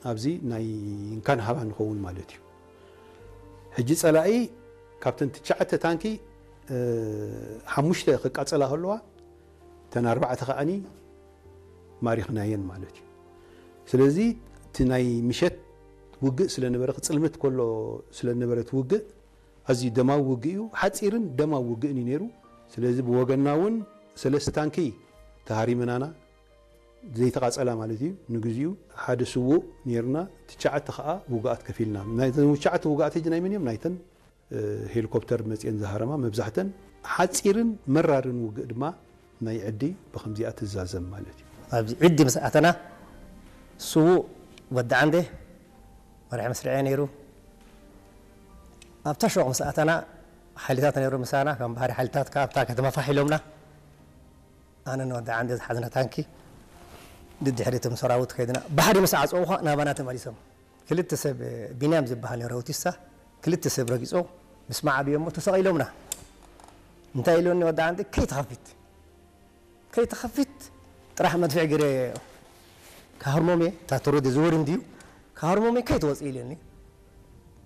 ኣብዚ ናይ እንካን ሃባ ንኸውን ማለት እዩ። ሕጂ ጸላኢ ካብተን ትሽዓተ ታንኪ ሓሙሽተ ክቃጸላ ከለዋ እተን ኣርባዕተ ከዓኒ ማሪኽናየን ማለት እዩ። ስለዚ እቲ ናይ ምሸት ውግእ ስለነበረ ክጽልምት ከሎ ስለነበረ እቲ ውግእ ኣዝዩ ደማዊ ውግእ እዩ። ሓጺርን ደማዊ ውግእን እዩ ነይሩ። ስለዚ ብወገንና እውን ሰለስተ ታንኪ ተሃሪመናና ዘይተቓጸላ ማለት እዩ። ንግዚኡ ሓደ ስዉእ ነይርና፣ ትሽዓተ ከዓ ውጉኣት ከፊልና። ናይተን ትሽዓተ ውጉኣት ሕጂ ናይ መን እዮም? ናይተን ሄሊኮፕተር መፅየን ዝሃረማ መብዛሕተን ሓፂርን መራርን ውግእ ድማ ናይ ዕዲ ብከምዚኣ ትዛዘም ማለት እዩ። ኣብዚ ዕዲ ምስ ኣተና ስዉእ ወዲ ዓንዴ መራሒ መስርዐ ነይሩ። ኣብታ ሸቕ ምስ ኣተና ሓይልታት ነይሩ ምሳና፣ ከም ባህሪ ሓይልታት ካብታ ከተማ ፋሕ ኢሎምና። ኣነ ንወዲ ዓንዴ ዝሓዝና ታንኪ ድድሕሪቶም ሰራዊት ከይድና ባሕሪ ምስ ዓፀው ኳ ናባና ተመሊሶም። ክልተ ሰብ ቢንያም ዝበሃል ነይሩ ኣውቲስታ ክልተ ሰብ ረጊፆ ምስ መዓብዮ እሞ ተሰቒሎምና። እንታይ ኢሎኒ ወዲ ዓንዴ ከይትኸፊት ከይትኸፊት ጥራሕ መድፍዕ ገይረ ክሃርሞም እየ። እታ ተሮዲ ዝወር እንድዩ ክሃርሞም እየ ከይትወፅእ ኢለኒ።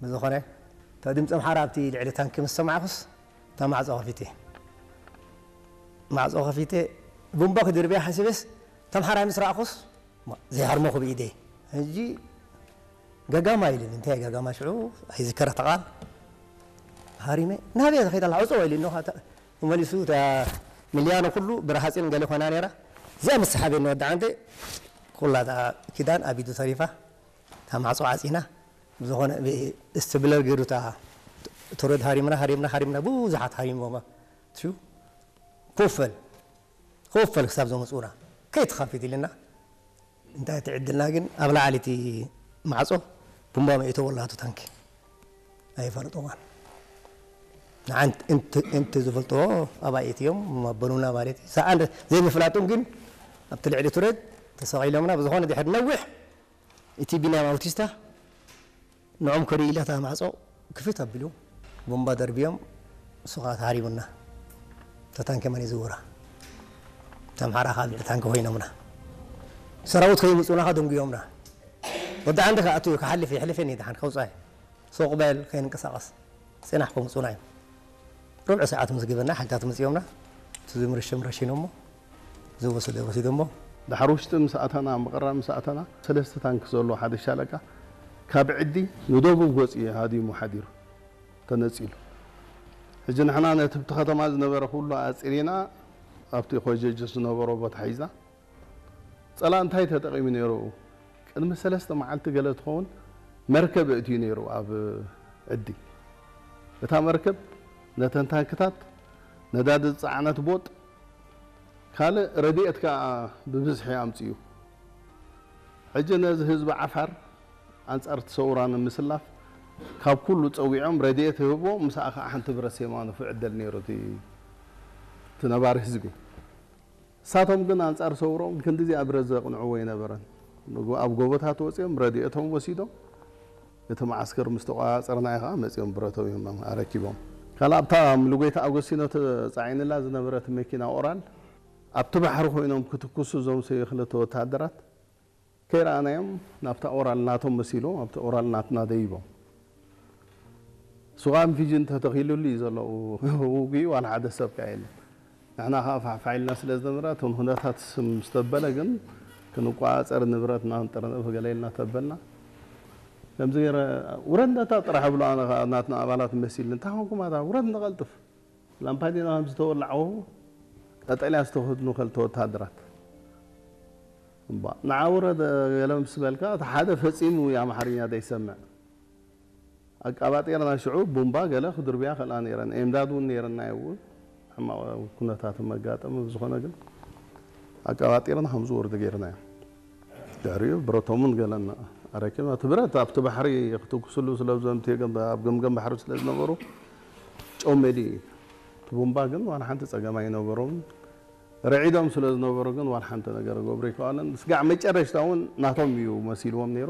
ብዝኾነ እታ ድምፂ ኣምሓራ ኣብቲ ልዕሊ ታንኪ ምስ ሰማዕኩስ እታ ማዕፆ ከፊተ ማዕፆ ከፊተ ቡምባ ክድርብያ ሓሲበስ እታ ኣምሓራይ ምስ ረኣኹስ ዘይሃርሞኹ ብኢደይ ሕጂ ገጋማ ኢሉኒ። እንታይ ገጋማ ሽዑ ኣይዝከራ ተቓል ሃሪመ ናበይ ከይዳ ኣላ ዕፅዋ ኢሉኒ። ተመሊሱ እታ ሚልያኖ ኩሉ ብረሃፅን ገለ ኮይና ነይራ። እዚኣ ምስ ሰሓበኒ ወዲ ዓንደ ኩላ እታ ኪዳን ኣብ ኢዱ ተሪፋ እታ ማዕፆ ዓፂና ብዝኾነ እስትብለር ገይሩ እታ ተረድ ሃሪምና ሃሪምና ሃሪምና ብዙሓት ሃሪሞማ ትዩ ኮፈል ኮፈል ክሳብ ዘምፅኡና ከይትኸፊት ኢልና እንታይ ትዕድልና ግን ኣብ ላዕሊ እቲ ማዕፆ ቡምባ መኢቶ ወላቱ ታንኪ ኣይፈልጥዋን ንዓንት እንት ዝፈልጥዎ ኣባይቲ እዮም መበሉና ማለት እዩ ሰኣን ዘይምፍላጦም ግን ኣብቲ ልዕሊ ቱረድ ተሰቒሎምና ብዝኾነ ድሕር ነዊሕ እቲ ቢንያም ኣውቲስታ ንዖም ከርኢ ኢላ እታ ማዕጾ ክፍት ኣቢሉ ቦምባ ደርብዮም ንሱ ከኣ ተሃሪቡና። እታ ታንኪ መን ይዝውራ? እታ ኣምሓራ ከኣ ልዕሊ ታንኪ ኮይኖምና። ሰራዊት ከይምጹና ከኣ ደንጉዮምና። ወዲ ዓንዲ ከኣ ኣትዩ ክሓልፍ የሕልፈኒ ደሓን ከውጻይ። ሱቕ በል ከይንንቀሳቐስ ጽናሕ ከምጹና እዮም። ርብዒ ሰዓት ምስ ግበና ሓይልታት መጺኦምና እቲ ዝምርሽም ረሺኖሞ ዝወሰደ ወሲዶሞ። ዳሕሪ ውሽጢ ምስ ኣተና ምቕራብ ምስ ኣተና ሰለስተ ታንክ ዘለዎ ሓደ ሻለቃ ካብ ዕዲ ንደቡብ ገጹ እዩ ሃዲሙ ሓዲሩ ተነጺሉ። ሕጂ ንሕና ነቲ ብቲ ከተማ ዝነበረ ኩሉ ኣጺሪና ኣብቲ ኮጀጅ ዝነበሮ ቦታ ሒዝና ጸላእ እንታይ ተጠቒሙ ነይሩ? ቅድሚ ሰለስተ መዓልቲ ገለ ትኸውን መርከብ ኣእትዩ ነይሩ ኣብ ዕዲ። እታ መርከብ ነተን ታንክታት፣ ነዳዲ ዝጸዓነት ቦጥ፣ ካልእ ረድኤት ከኣ ብብዝሒ ኣምጺኡ። ሕጂ ነዚ ህዝቢ ዓፋር ኣንጻር እቲ ሰውራ ንምስላፍ ካብ ኩሉ ጸዊዖም ረድኤት ይህብዎ፣ ምስኣ ከኣ ሓንቲ ብረት ሴማ ንፉዕ ዕደል ነይሩ እቲ ነባሪ ህዝቢ። ንሳቶም ግን ኣንጻር ሰውሮም ክንድዚኣ ብረት ዘቕንዕዎ ኣይነበረን። ኣብ ጎቦታት ወጺኦም ረድኤቶም ወሲዶም እቲ መዓስከር ምስ ተቖጻጸርናዮ ከኣ መጺኦም ብረቶም እዮም ኣረኪቦም። ካልእ ኣብታ ምሉጎይታ ኣጎስቲኖ ተጻዒንላ ዝነበረት መኪና ኦራል ኣብቲ ባሕሪ ኮይኖም ክትኩሱ እዞም ሰብዩ ክልተ ወተሃደራት ከይረኣናዮም ናብታ ኦራል ናቶም መሲሎም ኣብቲ ኦራል ናትና ደይቦም። ሱቓን ፊጅን ተተኺሉሉ እዩ ዘሎ ውግኡ ዋላ ሓደ ሰብ ከኣ የለን። ንሕና ከኣ ፋሕፋሕ ኢልና ስለ ዝነበረ እቶም ኩነታት ምስ ተበለ ግን ክንቋጸር ንብረትና ክንጥርንፍ ገለ ኢልና ተበልና። ከምዚ ገይረ ውረድ ነታ ጥራሕ እብሎ ኣነ ከኣ ናትና ኣባላት መሲልኒ እንታይ ኮንኩም ኣታ ውረድ ንቐልጥፍ ላምፓዲና ከም ዝተወላዕዎ ቀጠልያ ዝተኸድኑ ክልተ ወተሃደራት እምባ ንዓ ውረድ ገለ ምስ በልካ እቲ ሓደ ፈጺሙ ኣምሓርኛ ዘይሰምዕ ኣቃባጢርና ሽዑ ቡምባ ገለ ክድርብያ ከልኣ ነይረን ኤምዳድ እውን ነይረና እዩ እውን ሕማቕ ኩነታት መጋጠመ ብዝኾነ ግን ኣቃባጢርና ከም ዝወርዱ ገይርናዮ ድሕሪኡ ብረቶምን ገለን ኣረኪብና እቲ ብረት ኣብቲ ባሕሪ ክትኩስሉ ስለዘምት ኣብ ገምገም ባሕሪ ስለ ዝነበሩ ጨው መሊኡ እዩ እቲ ቡምባ ግን ዋላ ሓንቲ ፀገም ኣይነበሮም ረዒዶም ስለ ዝነበሩ ግን ዋላ ሓንቲ ነገር ገብሩ ይከኣለን ስጋዕ መጨረሽታ እውን ናቶም እዩ መሲልዎም ነይሩ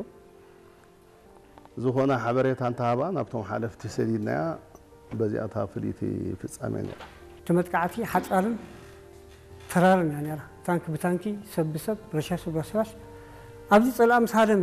ዝኾነ ሓበሬታ እንተሃባ ናብቶም ሓለፍቲ ሰዲድናያ በዚኣ እታ ፍልይቲ ፍጻሜ ነይራ። እቲ መጥቃዕቲ ሓጻርን ተራርን እያ ነይራ። ታንኪ ብታንኪ፣ ሰብ ብሰብ፣ ረሻሽ ብረሻሽ ኣብዚ ጸላእ ምስ ሃደመ